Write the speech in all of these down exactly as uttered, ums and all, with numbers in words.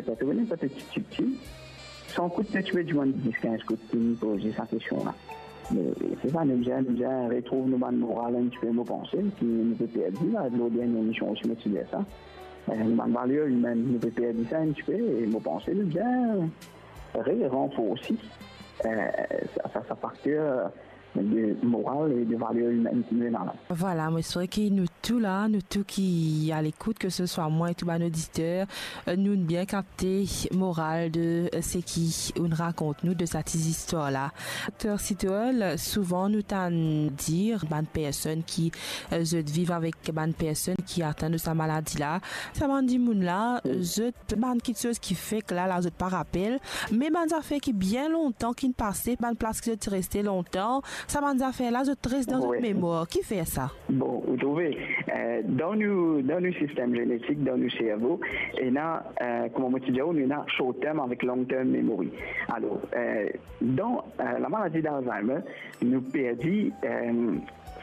Sa to vinn enn pe tipti, tipti, san kout, ti pe dimann dis, kinz kout, ki nou poze sa kestion la. Me se sa, nou bizin, nou bizin retrouv nou bann moral enn tipe, mo panse, ki nou pe perdi la, lor dernie emision osi, mo ti dir sa. Eh, nou bann valer imin, nou pe perdi sa enn tipe, e mo panse nou bizin re-ranforsi, eh, sa, sa, sa fakter de moral e de valer imin ki nou ena la. Vwala, mo espere ki nou tou la, nou tou ki a lekout, ke se swa mwa e tou bann oditer, eh, nou bien kapte moral de, eh, seki ou'nn rakont nou de sa ti zistwar la. Dokter Sitol, souvan nou tann dir bann personn ki, eh, zot viv avek bann personn ki atenn de sa maladi la, sa bann dimoun la, zot bann kiksoz ki fek la, la zot pa rapel, me bann zafer ki bien lontan ki'nn pase, bann plas ki zot ti reste lontan, sa bann zafer la, zot res dan zot memwar. Kifer sa? Bon, ou trouve, eh, dan nou, dan nou sistem zenetik, dan nou servo, ena, eh, kouma mo ti dir ou, nou ena short term avek long term memory. Alor, eh, dan, eh, lamaladi d'Alzheimer, nou perdi, eh,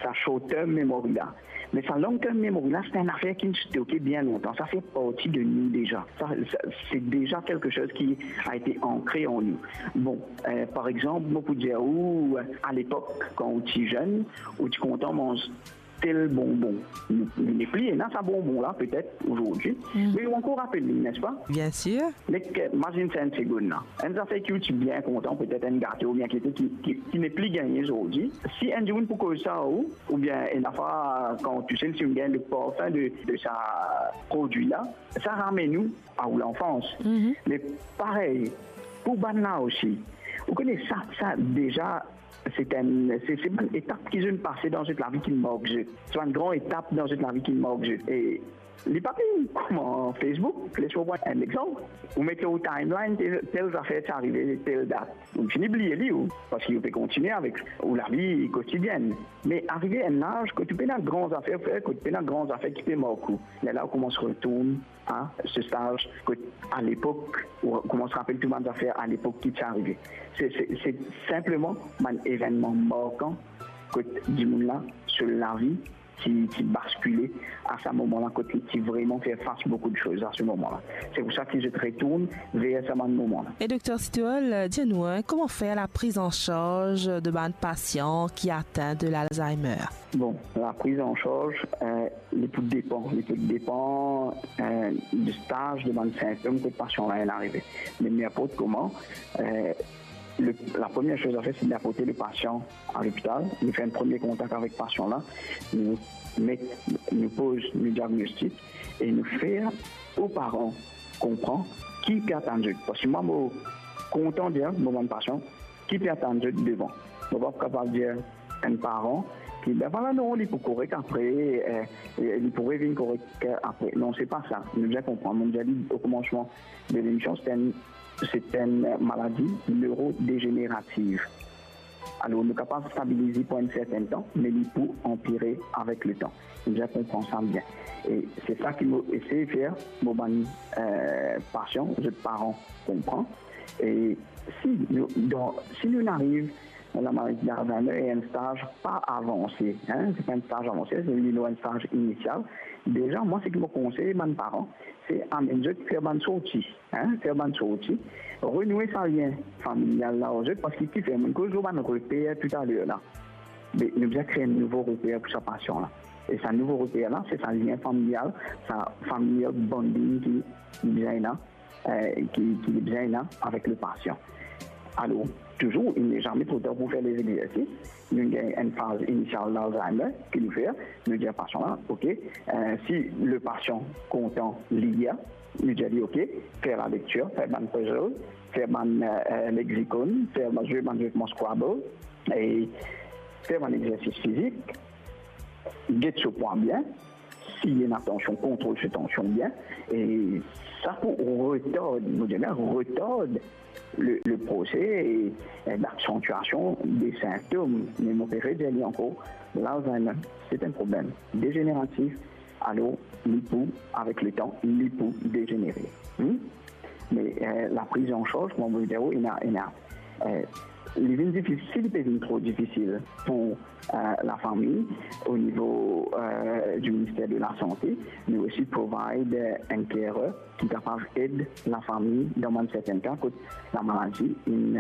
sa short term memory la. Me sa long term memory la, se enn zafer ki'nn stoke bien lontan. Sa fer parti de nou deza. Sa, sa, se deza kiksoz ki a ete ankre an nou. Bon, eh, par exanp, mo pou dir ou, a lepok, kan ou ti zenn, ou ti kontan manz tel bonbon. Nou, nou nepli ena sa bonbon la, petet, azordi. Me ou ankor rapel li, nespa? Bien sir. Nek, eh, mazinn sa enn segonn la. Enn zafer ki ou ti bien kontan, petet enn gato oubien kiksoz ki, ki, ki nepli gagne azordi. Si enn dimoun pou koz sa ou, oubien enn afwa kan ou touse, si ou gagn le parfin de, de sa prodwi la, sa ramenn ou a ou lanfans. Me parey, pou bann la osi, ou kone sa, sa deza, se enn, se, se bann etap ki zot pase dan zot lavi ki mark zot. Se bann gran etap dan zot lavi ki mark zot. E li pa pli kouma Facebook, les mo pran enn lexanp. Ou met lor ou timeline, tel, tel zafer ti arive tel dat. Ou fini bliye li, ou, parski ou pe kontigne avek ou lavi kotidienn. Me arive enn laz kot ou pena gran zafer fer, kot ou pena gran zafer ki pe mark ou. Lerla ou koumans retourn a se staz kot a lepok, ou koumans rapel tou bann zafer a lepok ki ti arive. Se, se, se sinpleman bann evennman markan kot dimoun la so lavi ti, ti baskile a sa moman la, kot li ti vreman fer fas boukou de soz a se moman la. Se pou sa ki zot retourn ver sa bann moman la. E Dokter Sitol, dir nou, hein, kouma fer la priz an sarz de bann pasian ki atin de l'Alzheimer? Bon, la priz an sarz, eh, li pou depan, li pou depan, eh, de staz de bann sintom kot pasian la inn arive. Me ninport kouma, eh, le, la premie soz a fer, se d'aporte le pasian a lopital, nou fer enn premie kontak avek pasian la, nou met, nou poz nou diagnostik e nou fer ou paran konpran ki pe atann zot. Parski mwa, mo kontan dir mo bann pasian ki pe atann zot devan. Mo pa pou kapav dir enn paran ki, ben vwala, non, li pou korek apre, eh, eh, li pou revinn korek, eh, apre. Non, se pa sa. Nou bizin konpran. Mo dir li o komansman de lemision, se enn, se enn maladi neurodégénérative. Alor, nou kapav stabiliz li pou enn sertenn tan, me li pou anpire avek letan. Nou bizin konpran sa bien. E se sa ki mo esey fer, mo bann, eh, pasian, zot paran konpran. E si nou, dan, si nou ariv dan lamaladi d'Alzheimer e enn staz pa avanse, hein, se pa enn staz avanse, se li lor enn staz inisial. Deza, mwa, seki mo konsey bann paran, se amenn zot fer bann sorti, hein, fer bann sorti, renoue sa lien familial la ar zot, parski kifer, mo'nn koz lor bann reper toutaler la. Me nou bizin kree enn nouvo reper pou sa pasian la. E sa nouvo reper la, se sa lien familial, sa familial bonding ki bizin la, eh, ki, ki bizin la avek le pasian. Alor, touzour, il n'est jamais trop tard pou fer lezegzersis. Nou gagn enn faz inisial d'Alzheimer ki nou fer, nou dir pasian la, ok, eh, si le pasian kontan lir, nou dir li, ok, fer lalektir, fer bann puzzle, fer bann, eh, lexicon, fer bann, zwe bann zwe kouma Scrabble, e fer bann exersis fizik, get so pwa bien, si ena tansion, kontrol so tansion bien, e sa pou retard, mo dir bien retard le, le prose, eh, d'aksantiasion de sintom. Me mo pe redir li ankor, l'Alzheimer, se enn problem dezéneratif, alor li pou, avek letan, li pou dezenere. Hmm? Me, eh, la priz an sarz, kouma mo dir ou, ena, ena, eh, Li vinn difisil, li pe vinn tro difisil pou lafami o nivo di Minister de Lasante, me osi provide enn carer ki kapav ed lafami dan bann sertenn ka kot lamaladi inn